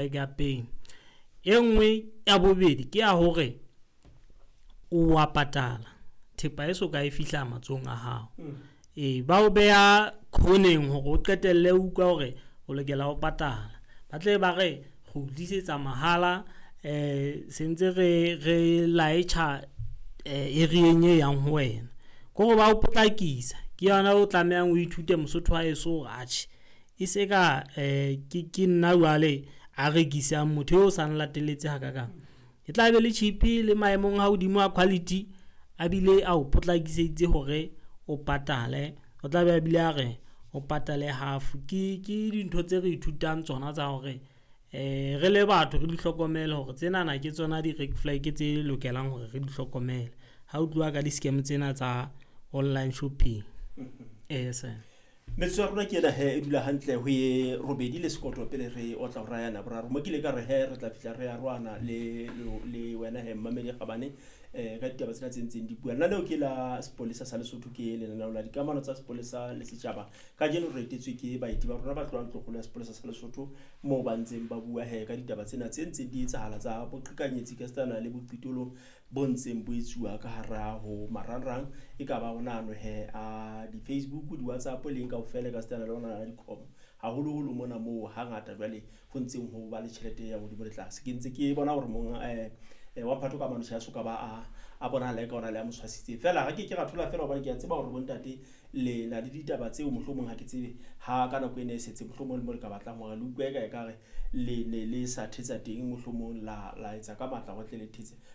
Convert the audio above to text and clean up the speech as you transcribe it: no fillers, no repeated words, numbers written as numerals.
Ya pele e nngwe ya bobedi ke ya hore o wa patala thepa e soka e fihla matsohong a hao. Ee, ba o beha khoneng hore o qetelle o utlwa hore o lokela ho patala. Ba tle ba re re o tlisetsa mahala sentse re laetja area-eng e yang ho wena. Ke hore ba o potlakisa, ke yona o tlamehang o ithute Mosotho wa heso hore atjhe e se ka ke nna jwale a rekisang, motho eo o sa nlatelletse hakakang. E tla be le cheap le maemong a hodimo a quality a bile a o potlakisitse hore o patale. O tla be a bile a re o patale half. Ke dintho tse re ithutang tsona tsa hore re le batho re di hlokomele hore tsenana ke tsona di-red flag tse lokelang hore re di hlokomele. Ha ho tluwa ka di-scam tsena tsa online shopping. Ee, sir. Metsotso ya rona ke ena he, e dula hantle ho ye 8 le sekoto pele re otla hora ya boraro. Mo ke ile ka re he re tla fihla re arohana le wena he mmamedi kgabane ka ditaba tsena tse ntseng di bua. Lenaneo ke la Sepolesa sa Lesotho, ke lenaneo la dikamano tsa sepolesa le setjhaba. Kajeno re etetswe ke baeti ba rona ba tlohang ntlokgolo ya sepolesa sa Lesotho, moo ba ntseng ba bua he ka ditaba tsena tse ntseng di etsahala tsa boqhekanyetsi ka setsana le boqitolo bo ntseng bo etsuwa ka hara ho marangrang, e ka ba ona ano he a di-Facebook, di-WhatsApp le eng kaofela ka setsana le ona a di-com, haholoholo mona moo hangata jwale ho ntseng ho ba le tjhelete ya hodimo le tlase. Ke ntse ke bona hore monga wa Mphato ka mane tjhe, a soka ba a bonahala eka ona le a mo tshwasitseng feela. Re ke ke ra thola feela hobane ke a tseba hore bontate le na le ditaba tseo, mohlomong ha ke tsebe ha ka nako ena e setse, mohlomong le mo le ka batlang hore le utlwe eka ekare le ne le sa thetsa teng, mohlomong la etsa ka matla hore tle le thetse.